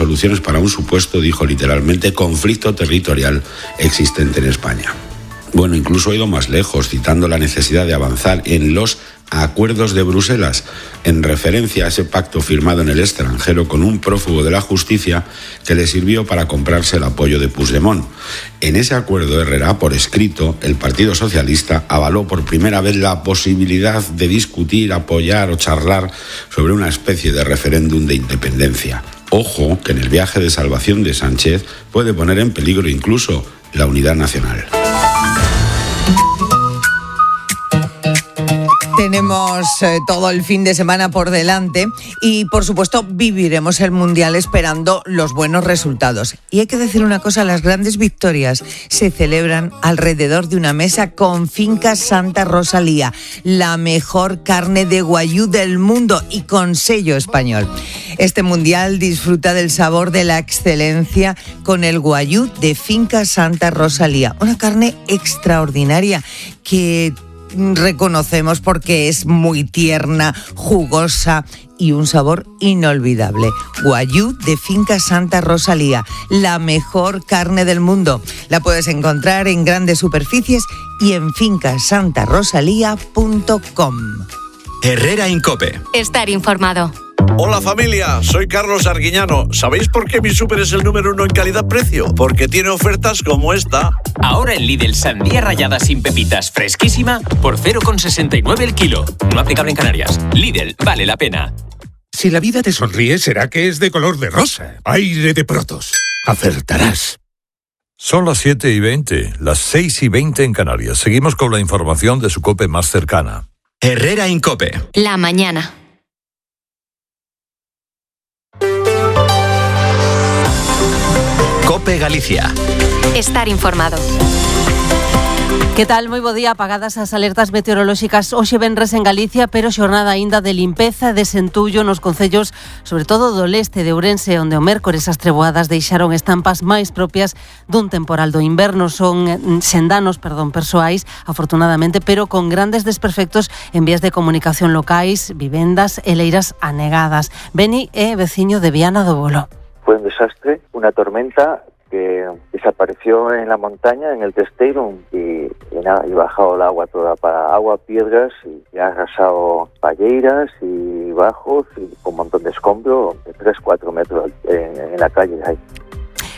soluciones para un supuesto, dijo literalmente, conflicto territorial existente en España. Bueno, incluso ha ido más lejos, citando la necesidad de avanzar en los acuerdos de Bruselas, en referencia a ese pacto firmado en el extranjero con un prófugo de la justicia que le sirvió para comprarse el apoyo de Puigdemont. En ese acuerdo, Herrera, por escrito, el Partido Socialista avaló por primera vez la posibilidad de discutir, apoyar o charlar sobre una especie de referéndum de independencia. Ojo, que en el viaje de salvación de Sánchez puede poner en peligro incluso la unidad nacional. Tenemos todo el fin de semana por delante y, por supuesto, viviremos el Mundial esperando los buenos resultados. Y hay que decir una cosa, las grandes victorias se celebran alrededor de una mesa con Finca Santa Rosalía, la mejor carne de guayú del mundo y con sello español. Este Mundial disfruta del sabor de la excelencia con el guayú de Finca Santa Rosalía, una carne extraordinaria que reconocemos porque es muy tierna, jugosa y un sabor inolvidable. Guayú de Finca Santa Rosalía, la mejor carne del mundo. La puedes encontrar en grandes superficies y en fincasantarosalía.com. Herrera Incope. Estar informado. Hola familia, soy Carlos Arguiñano. ¿Sabéis por qué mi súper es el número 1 en calidad-precio? Porque tiene ofertas como esta. Ahora en Lidl, sandía rallada sin pepitas, fresquísima, por 0,69 el kilo. No aplicable en Canarias. Lidl, vale la pena. Si la vida te sonríe, será que es de color de rosa. Aire de Protos. Acertarás. Son las 7:20, las 6:20 en Canarias. Seguimos con la información de su COPE más cercana. Herrera Incope. La mañana. COPE Galicia. Estar informado. Que tal? Moi bo día. Apagadas as alertas meteorolóxicas hoxe venres en Galicia, pero xornada aínda de limpeza e desentullo nos concellos, sobre todo do leste de Ourense, onde o mércores as treboadas deixaron estampas máis propias dun temporal do inverno. Son sen danos, persoais, afortunadamente, pero con grandes desperfectos en vías de comunicación locais, vivendas e leiras anegadas. Beni é veciño de Viana do Bolo. Fue un desastre, una tormenta que desapareció en la montaña, en el Testeiro, y bajado el agua toda para agua, piedras, y ha arrasado palleiras y bajos, y con un montón de escombro, de 3-4 metros en la calle ahí.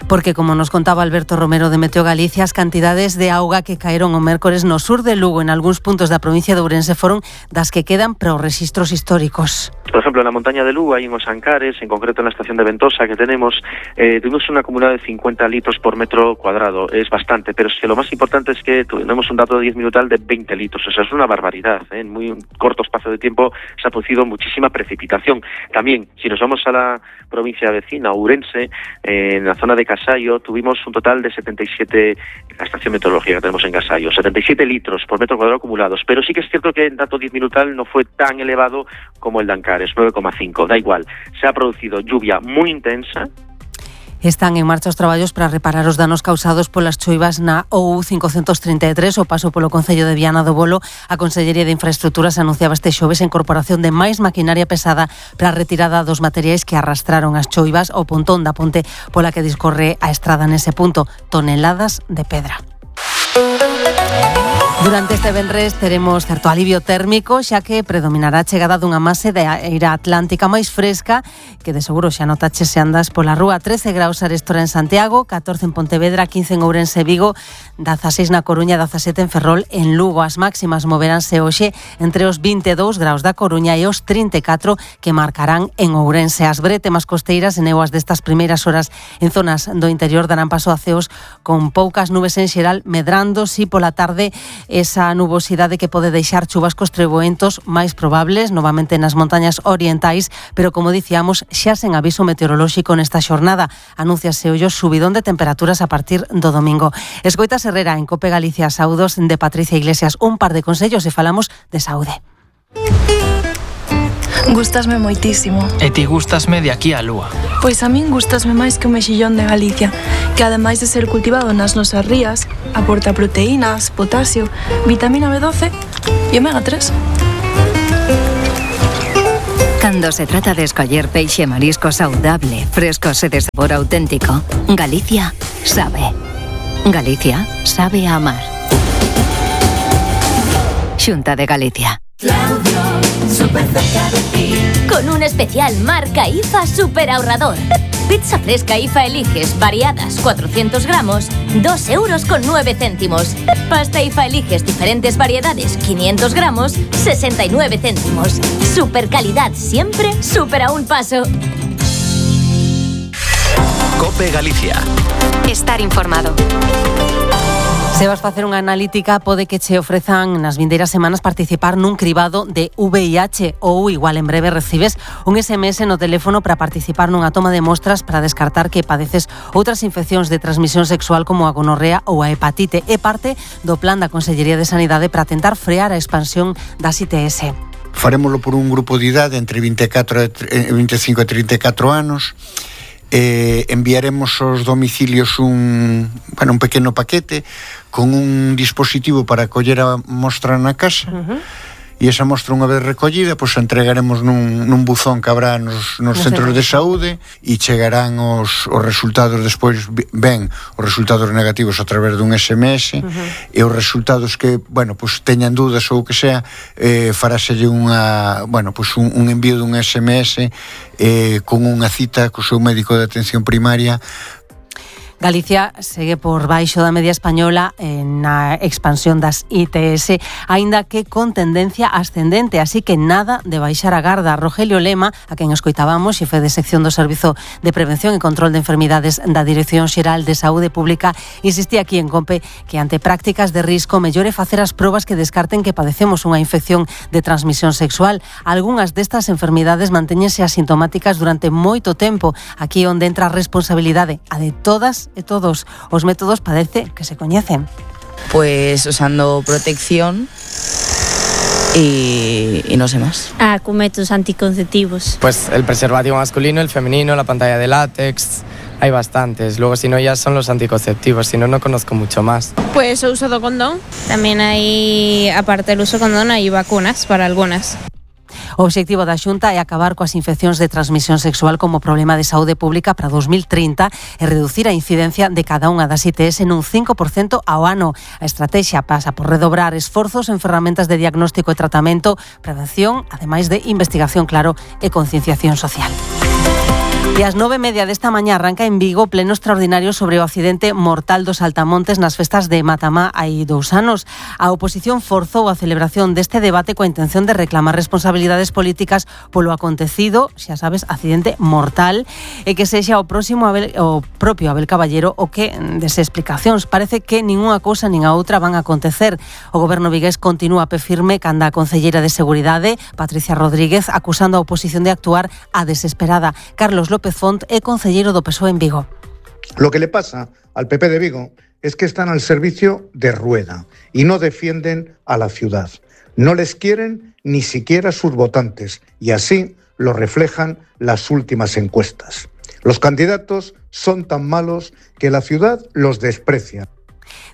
Porque, como nos contaba Alberto Romero de Meteo Galicia, as cantidades de auga que caeron o mércores no sur de Lugo en algúns puntos da provincia de Ourense foron das que quedan para os rexistros históricos. Por ejemplo, en la montaña de Lugo, ahí en Os Ancares, en concreto en la estación de Ventosa que tenemos, tuvimos un acumulado de 50 litros por metro cuadrado. Es bastante, pero es que lo más importante es que tenemos un dato de 10 minutal de 20 litros. O sea, es una barbaridad. En muy corto espacio de tiempo se ha producido muchísima precipitación. También, si nos vamos a la provincia vecina, Ourense, en la zona de Casayo, tuvimos un total de 77, la estación meteorológica que tenemos en Casayo, 77 litros por metro cuadrado acumulados. Pero sí que es cierto que el dato 10 minutal no fue tan elevado como el de Ancares, 9,5. Da igual, se ha producido lluvia muy intensa. Están en marcha os traballos para reparar os danos causados polas choivas na OU 533, o paso polo concello de Viana do Bolo. A Consellería de Infraestructuras anunciaba este xoves a incorporación de máis maquinaria pesada para a retirada dos materiais que arrastraron as choivas ao pontón da ponte pola que discorre a estrada nese punto, toneladas de pedra. Durante este venres teremos certo alivio térmico, xa que predominará a chegada dunha mase de aire atlántica máis fresca, que de seguro xa notaches se andas pola rúa. 13 graus arestora en Santiago, 14 en Pontevedra, 15 en Ourense e Vigo, 16 na Coruña, 17 en Ferrol, en Lugo. As máximas moveránse hoxe entre os 22 graus da Coruña e os 34 que marcarán en Ourense. As brétemas costeiras e néboas destas primeiras horas en zonas do interior darán paso a ceos con poucas nubes en xeral, medrando si pola tarde esa nubosidade que pode deixar chuvascos treboentos máis probables novamente nas montañas orientais, pero como dicíamos, xa sen aviso meteorolóxico nesta xornada. Anúnciase hoxe o subidón de temperaturas a partir do domingo. Escoitas Herrera en Cope Galicia, saúdos de Patricia Iglesias. Un par de consellos e falamos de saúde. Gústasme moitísimo. E ti gústasme de aquí á lúa? Pois a min gústasme máis que o mexillón de Galicia, que ademais de ser cultivado nas nosas rías, aporta proteínas, potasio, vitamina B12 e omega 3. Cando se trata de escoller peixe e marisco saudable, frescos e de sabor auténtico, Galicia sabe. Galicia sabe a amar. Xunta de Galicia. Claudio, súper cerca de ti. Con un especial marca IFA super ahorrador. Pizza fresca IFA Eliges, variadas, 400 gramos, 2,09 €. Pasta IFA Eliges, diferentes variedades, 500 gramos, 69 céntimos. Super calidad siempre, super a un paso. COPE Galicia. Estar informado. Se vas facer unha analítica, pode que che ofrezan nas vindeiras semanas participar nun cribado de VIH ou igual en breve recibes un SMS no teléfono para participar nunha toma de mostras para descartar que padeces outras infeccións de transmisión sexual como a gonorrea ou a hepatite. É parte do plan da Consellería de Sanidade para tentar frear a expansión das ITS. Farémolo por un grupo de idade entre 25 e 34 anos. Enviaremos aos domicilios un pequeno paquete con un dispositivo para coller a mostra na casa. E esa mostra, unha vez recollida, pois entregaremos nun buzón que habrá nos centros de saúde e chegarán os resultados despois, ben, os resultados negativos a través dun SMS e os resultados que, teñan dúdas ou que sea, faráselle un envío dun SMS con unha cita co seu médico de atención primaria. Galicia segue por baixo da media española na expansión das ITS, aínda que con tendencia ascendente, así que nada de baixar a garda. Rogelio Lema, a quen escoitábamos, xefe de sección do Servizo de Prevención e Control de Enfermidades da Dirección Xeral de Saúde Pública, insistía aquí en COPE que ante prácticas de risco mellore facer as probas que descarten que padecemos unha infección de transmisión sexual. Algúnas destas enfermidades mantéñense asintomáticas durante moito tempo. Aquí onde entra a responsabilidade, a de todas e todos os métodos parece que se coñecen. Pues usando protección y no sé más. Con métodos anticonceptivos. Pues el preservativo masculino, el femenino, la pantalla de látex, hay bastantes. Luego si no ya son los anticonceptivos, si no, no conozco mucho más. Pues el uso de condón. También hay, aparte del uso de condón, hay vacunas para algunas. O obxectivo da Xunta é acabar coas infeccións de transmisión sexual como problema de saúde pública para 2030 e reducir a incidencia de cada unha das ITS nun 5% ao ano. A estrategia pasa por redobrar esforzos en ferramentas de diagnóstico e tratamento, prevención, ademais de investigación, claro, e concienciación social. E ás 9:30 desta mañá arranca en Vigo pleno extraordinario sobre o accidente mortal dos Saltamontes nas festas de Matamá hai 2 anos. A oposición forzou a celebración deste debate coa intención de reclamar responsabilidades políticas polo acontecido, xa sabes, accidente mortal, e que sexa o propio Abel Caballero o que dese explicacións. Parece que ninguna cousa nin a outra van a acontecer. O goberno vigués continúa pé firme canda a concelleira de Seguridade, Patricia Rodríguez, acusando a oposición de actuar a desesperada. Carlos López Font é concelleiro do PSOE en Vigo. Lo que le pasa al PP de Vigo es que están al servicio de Rueda y no defienden a la ciudad. No les quieren ni siquiera sus votantes y así lo reflejan las últimas encuestas. Los candidatos son tan malos que la ciudad los desprecia.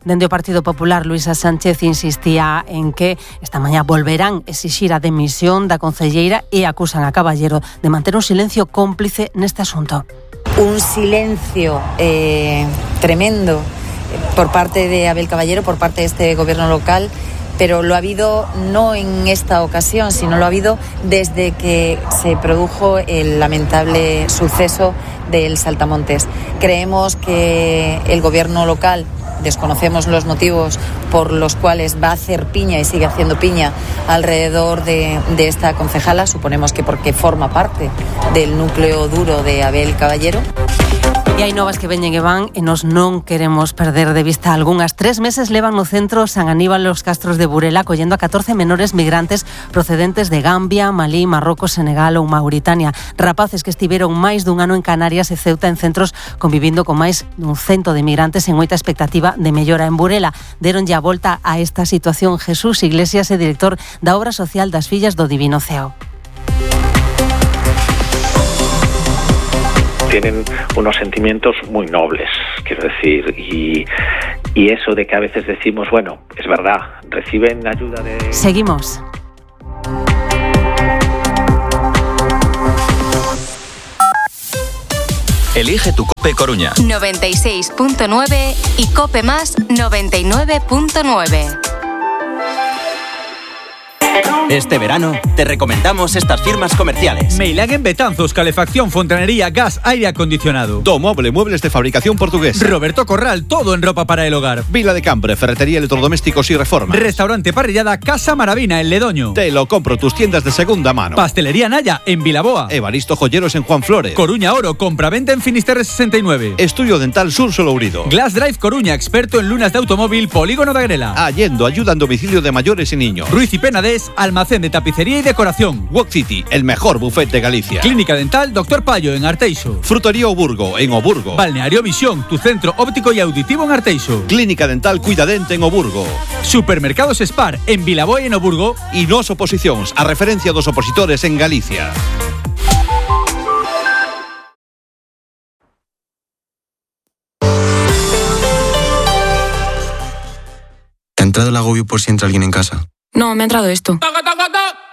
Dende o Partido Popular, Luisa Sánchez insistía en que esta mañá volverán exixir a demisión da concelleira e acusan a Caballero de manter un silencio cómplice neste asunto. Un silencio tremendo por parte de Abel Caballero, por parte de este gobierno local, pero lo ha habido no en esta ocasión, sino lo ha habido desde que se produjo el lamentable suceso del Saltamontes. Creemos que el gobierno local, desconocemos los motivos por los cuales va a hacer piña y sigue haciendo piña alrededor de esta concejala, suponemos que porque forma parte del núcleo duro de Abel Caballero. E hai novas que veñen e van e nos non queremos perder de vista algunhas. 3 meses levan no centro San Aníbal los Castros de Burela acollendo a 14 menores migrantes procedentes de Gambia, Malí, Marrocos, Senegal ou Mauritania. Rapaces que estiveron máis dun ano en Canarias e Ceuta en centros convivindo con máis dun 100 de migrantes en moita expectativa de mellora en Burela. Deronlle a volta a esta situación Jesús Iglesias, é director da Obra Social das Fillas do Divino Ceo. Tienen unos sentimientos muy nobles, quiero decir, y eso de que a veces decimos, bueno, es verdad, reciben ayuda de... Seguimos. Elige tu COPE Coruña. 96.9 y COPE Más 99.9. Este verano te recomendamos estas firmas comerciales: Meilagen Betanzos, calefacción, fontanería, gas, aire acondicionado. Domoble, muebles de fabricación portuguesa. Roberto Corral, todo en ropa para el hogar. Vila de Cambre, ferretería, electrodomésticos y reforma. Restaurante parrillada Casa Maravina en Ledoño. Te lo compro, tus tiendas de segunda mano. Pastelería Naya en Vilaboa. Evaristo Joyeros en Juan Flores. Coruña Oro, compraventa en Finisterre 69. Estudio Dental Sur Solourido. Glass Drive Coruña, experto en lunas de automóvil, Polígono de Agrela. Allendo, ayuda en domicilio de mayores y niños. Ruiz y Penades, almacén de tapicería y decoración. Walk City, el mejor buffet de Galicia. Clínica Dental Dr. Payo en Arteixo. Frutería Oburgo en Oburgo. Balneario Visión, tu centro óptico y auditivo en Arteixo. Clínica Dental Cuidadente en Oburgo. Supermercados Spar en Vilaboa y en Oburgo. Y Nos Oposicións, a referencia dos opositores en Galicia. ¿Te ha entrado el agobio por si entra alguien en casa? No, me ha entrado esto.